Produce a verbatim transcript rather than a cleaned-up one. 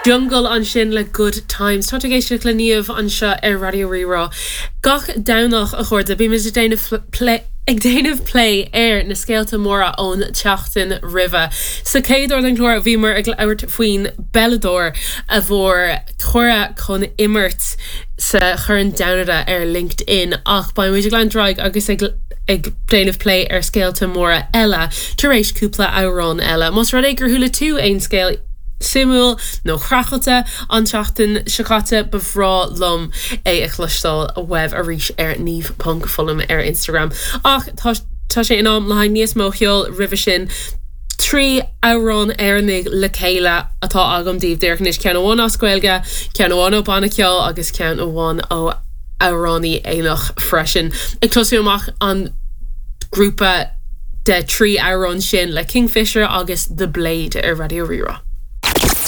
Jungle ansin le Good Times. Tá ag éisteacht le Niamh anseo ar Raidió Rí-Rá. Gach Domhnach a chairde bímid ag déanamh plé ag déanamh plé ar na scéalta móra ón tseachtain roimhe. Sa chéad uair den chlár bhíomar ag labhairt faoin bpeileadóir a fuair cuireadh chun imirt sa Chorn Domhanda ar LinkedIn ach beimid ag leanúint ar aghaidh agus ag ag déanamh plé ar scéalta móra eile tar éis cúpla amhrán eile. Más rud é gur chuala tú aon scéal suimiúil nó craiceáilte an tseachtain seo caite ba bhreá liom é a chloisteáil uaibh arís ar niamh.fullam ar Instagram. Ach tá tá sé in am le haghaidh níos mó ceoil roimhe sin. Trí amhrán Éireannaigh le chéile atá agam daoibh díreach anois ceann amháin as Gaeilge, ceann amháin ó banna ceoil agus ceann amháin ó amhránaí Éireannach freisin. Ag tosú amach an grúpa de trí amhrán sin le Kingfisher agus The Blade ar Raidió Rí-Rá.